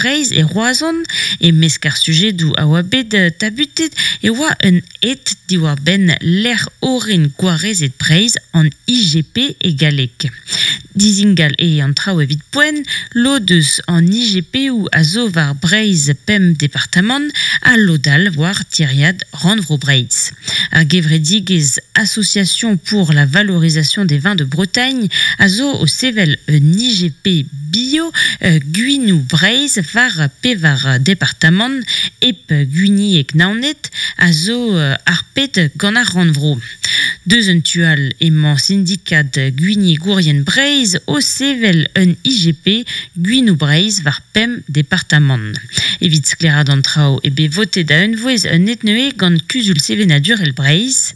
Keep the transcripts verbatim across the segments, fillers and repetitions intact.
Breizh e Roazhon, e-mesk ar sujedoù a oa bet tabutet e oa un het diwar-benn lec'h orin gwarezet Breizh, an I G P e galleg. Dizingal eo an traoù evit poent, lod eus an I G P-où a zo war Breizh pemp departamant ha lod all war tiriad Rannvro Breizh. Ar gevredigezh Association pour la valorisation des vins de Bretagne a zo o sevel un I G P bio, euh, Gwinou Breizh war pevar departamant hep Gwinieg Naoned a zo, euh, arpet gant ar Rannvro. Deus un tual emañ syndikat Gwinieg-Gourien Breizh o sevel un I G P Gwinou Breizh war pemp departamant. Evit sklaeraat an traoù e bet votet da unvouezh un etneue gant Kuzul Sevenadurel Breizh.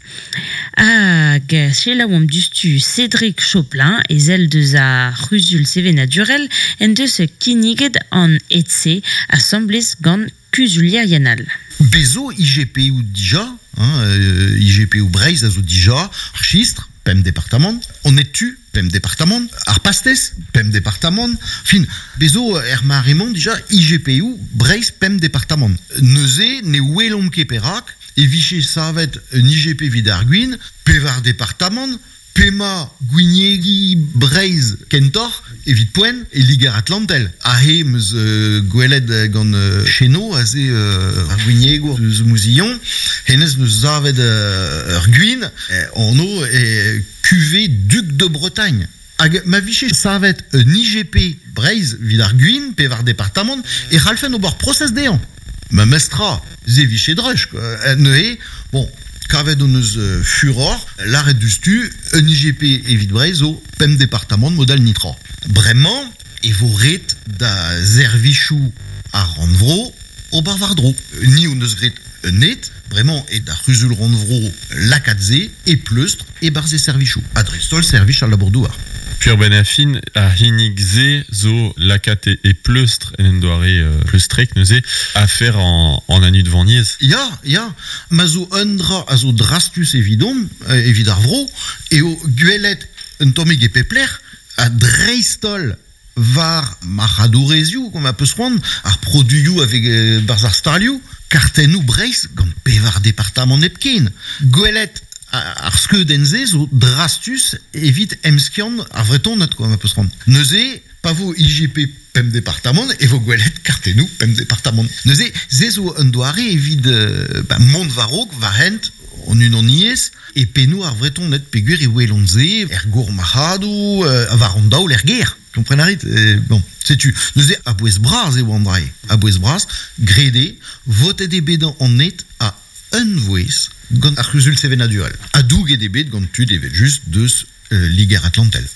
Hag selaouomp dustu Cédric Choplin, ezel deus ar C'huzul Sevenadurel, en deus kinniget an E T C asamblez gant Kuzulierien all. Bezo I G P U dija, hein, euh, I G P U Breizh a zo dija, ar Chistr, pemp departamant, on est tu, pemp departamant, ar Pastez, pemp departamant, fin, bezo er maremont dija I G P U Breizh pemp departamant. Neuze ne welomp ket perak, e viche savet un I G P vid ar gwin, pevar departamant, pema Gwiniegi Breizh kentor, evit poent, e Liger Atlantel. Ahe meus, euh, gwelet gant, euh, Cheno, aze, euh, ar Gwiniego eus Mouzillon, hennezh neus savet, euh, ur gwin, eh, anv e cuvée Duc de Bretagne. Hag ma viche savet un I G P Breizh vid ar gwin, pevar departamant, e c'hallfen ober prosez dezhañ. Ma mestra, ze viche drech, quoi. Eh, neuze, bon, kavet hon eus, euh, furor, l'arrêt du stu, un I G P evit Breizh zo pemp departamant modal nitra. Bremañ, e vo ret da servichoù ar Rannvro ober war-dro. Ni hon eus graet un het, bremañ e da C'huzul Rannvro lakaat-se e pleustr e barzh e servichoù. Ha dreist-holl servij al labour-douar. Pur ben a fin, a hinnig ze zo lakaat e, e pleustr en en doare, euh, pleustrek neuze a fer en, en anu de Vanniez. Ya, ya, ma zo un dra a zo drastus evidom, euh, evit ar vro, eo gwelet un tammig e pepler, a dreist-holl war marc'hadourezioù, kom a peus c'hoant, ar produioù avec, euh, barzh ar stalioù, kartennoù Breizh gant pevar departamant hepken. Gwelet a-, ar skeudenn-se zo drastus evit emskiant ar Vretoned, quoi, ma peus c'hoant. Neuze, pa vo I G P pemp departamant, e vo gwelet kartennoù pemp departamant. Neuze, se zo un doare evit, euh, ba, mont war-raok, war hent, an unaniezh, e pennoù ar Vretoned peogwir e welont se, er gourmarc'hadoù, euh, war an daol er gêr. Kompren a rit? Eh, bon, setu. Neuze, a bouez bras eo an drae. A bouez bras, grede, votet eo bet an net a un vouez gant ar C'huzul Sevenadurel. A douget eo bet gant tud evel just deus, euh, Liger Atlantel.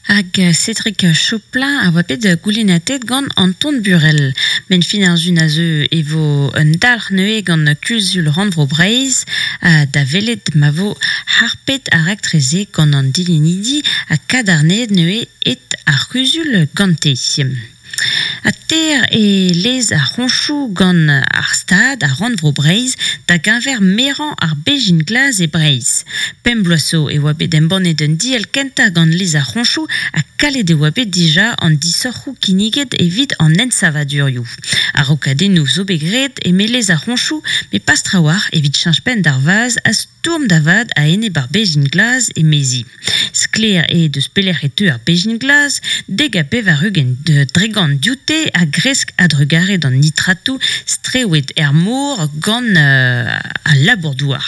Hag Cédric Choplin a oa bet goulennatet gant Anton Burel. Men fin ar zun a zeu e vo un dalc'h neuze gant Kuzul Rannvro Breizh, ha da welet ma vo harpet ar raktreze gant an dilenidi ha kadarnet neuze et ar C'huzul gante. A ter e lez ar c'honchoù gant ar stad ar Rannvro Breizh da geñver merañ ar bezhin glas e Breizh. Pemp bloaz zo e oa bet embannet un diell kentañ gant lez ar c'honchoù ha kalet e oa bet dija an disorc'hoù kinniget evit an ensavadurioù. Ar rokadennoù zo bet graet eme lez ar c'honchoù, met pas trawalc'h evit cheñch penn d'ar vaz ha stourm da vat a-enep ar bezhin glas emezi. Sklaer eo deus pelec'h e teu ar bezhin glas, deg ha pevar-ugent de dregant dioute a gresk a-drugarez d'an nitratoù strewet er mor gant, euh, al labour-douar.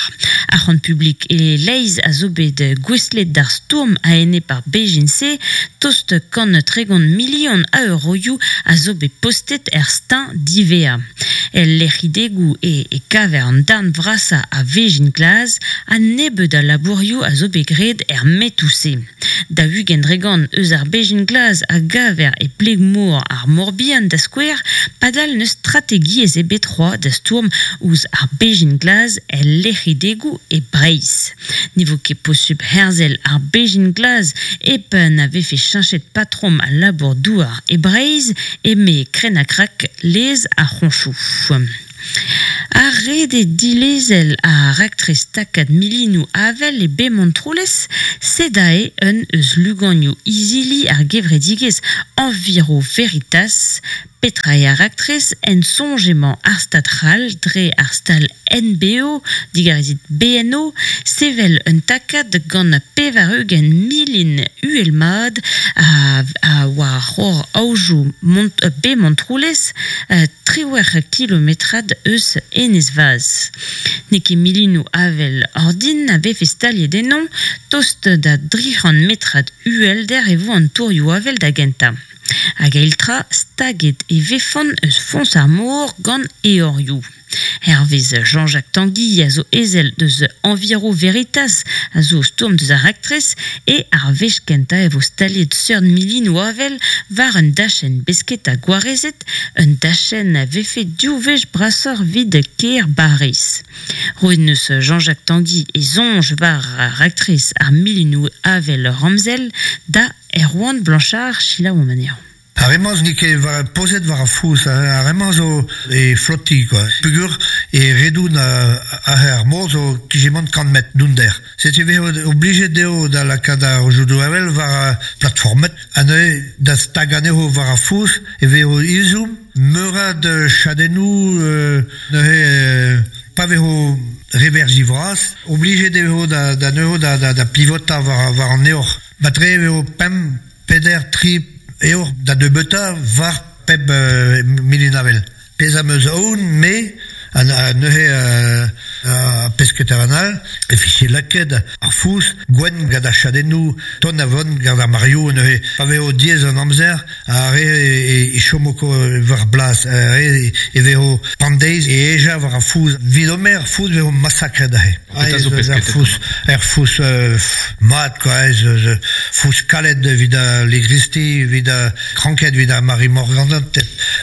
Ar c'hant publik e leizh a zo bet gouestlet d'ar stourm a-enep ar bezhin-se, tost kant tregont milion a euroioù a zo bet postet er stein divea. El lec'hidegoù e, e kaver an darn vrasañ a vezhin glas ha nebeud a labourioù a zo bet graet er metoù-se. Da ugent dregant eus ar bezhin glas a gaver e pleg-mor ar Morbihan da skouer, padal neus strategiezh ebet c'hoazh da stourm ouzh ar bezhin glas el lec'hidegoù e Breizh. Ne vo ket posubl herzel ar bezhin glas hep na vefe cheñchet patrom al labour-douar e Breizh, eme krenn-ha-krak lez ar c'honchoù. Ar rede dilezel a raktres takad milinoù avel e Bemontroulez, sedae un eus luganioù izili ar gevredigezh Enviro Veritas, Petra eo ar raktres en soñj emañ ar Stad c'hall dre ar stal N B O, digarezit B N O, sevel un takad gant pevar-ugent milin uhelmat a, a war c'hor aojoù Mont, be Montroulez, triwec'h kilometrad eus Enez-Vaz. N'eo ket milinoù avel ordin a vefe staliet ennon, tost da dri c'hant metrad uhelder e vo an tourioù avel da gentañ. Hag eil-tra, staget e vefont eus foñs ar mor gant eorioù. Hervez Jean-Jacques Tanguy a zo ezel deus Enviro Veritas a zo stourm deus ar raktres e ar wech kentañ e vo staliet seurt milinoù avel war un dachenn besketa gwarezet, un dachenn a vefe div wech brasoc'h 'vit kêr Bariz. Roet neus Jean-Jacques Tanguy e soñj war ar raktres ar milinoù avel ramzel da Erwan Blanchard selaouomp anezhañ. Ar re-mañ n'eo ket war, pozet war ar fouz, ar re-mañ zo e flotti, quoi. Pugur e redoun a, ar mor zo kijemant kant metr dounder. Setu vezo obligé dezho da lakaat ar jodoù avel war ar platformet, ha neuze da stag anezho war ar fouz e vezo izoum meurad chadennoù euh, neuze euh, pa vezo reverzi vras, obligé dezho da, da neuze da, da, da pivota war, war an eor. Batre vezo pemp, peder, tri eor da debeuta war pep euh, milinavel. Pez am eus aon, me, a, a neuze euh, a pesketer an all, e fiche laket ar fouz, gwenn gant ar chadennoù, ton a vont gant ar mario, neuze pa vezo diez an amzer, a re e, e chomoko war blas, a re e vezo pandeiz e eja war ar fouz. Vid omer ar fouz vezo massakret ahe. Petra zo Ar pesketet fouz, ar fouz euh, mat, quoi, ez, ez, fouz kalet evit a legristi, evit a kranket, evit a Marie Morgan,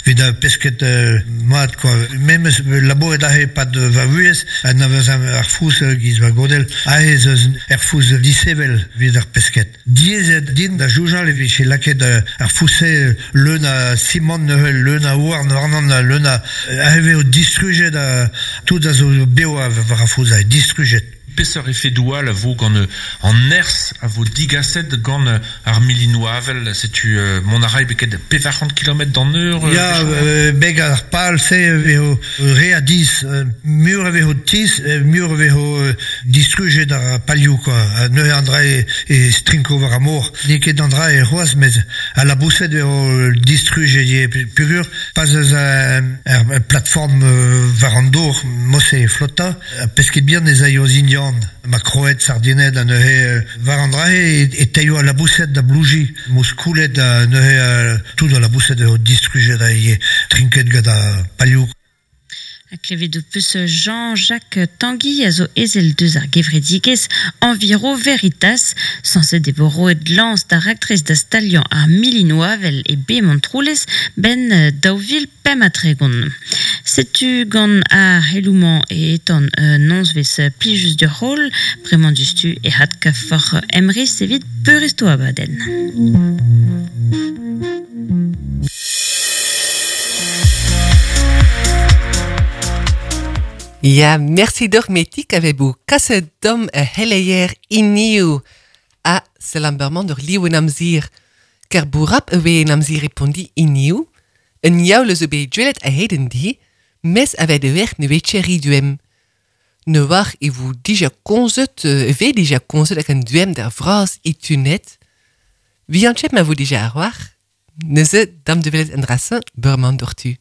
evit a pesket euh, mat, quoi. Memes labouret ahe pad va vuhez, an avez ar fouz giz va godel, ahe eus ar fouz disevel evit ar pesket. Diezet din da joujal evit che laket ar fouse leun a simant neuze, leun a houarn warnan, leun a ahe vezo distrujet a tout a zo beo a war ar fouz ahe, distrujet. Peseurt efedoù all a vo gant an nerzh a vo digaset gant ar milinoù avel, setu euh, mont a ray beket pevar c'hant kilomètre d'an eur, euh, Ya, bechouer. euh, beg ar pal se vezo re a diz, mur a vezo tiz, mur a vezo distrujet ar palioù, quoi. Neuze an dra e, e strinko war ar mor. N'eo ket an dra e c'hoazh, met a la bouset vezo distrujet ye pugur, pas eus ar, ar plateforme war an dor, mose e flotta, pesket bihan ez aio zindian. Ma kroet, sardinet, a neuze war an dra e, e teio a la bouset da blouji, mos koulet a neuze tout a la bouset vezo distrujet a ye trinket gant ar palioù. A klevet o peus Jean-Jacques Tanguy a zo ezel deus ar gevredigezh Enviro Veritas, sañset e vo roet lañs d'ar raktres da staliañ ar milinoù avel e be Montroulez ben daou vil pemp ha tregont. Setu gant ar c'heloù-mañ e etan euh, nozvezh plijus d'ur rol, bremañ dustu e had kafor emriz evit peurresto abadenn. Ja, merci dormetik avez-vous kasse dom a heleier iniu. A selamberman dur liou en amzir. Ker bourap ewe en amzir repondi iniu. En jaule zo be dwelet a heden di, mes ave de werk ne wetje riduem. Ne war e vous dija konzet, ve dija konzet ak an duem der vras itunet. Vi an chep ma vous dija ar war? Neuze dam de velet en drassen, beurman dortu.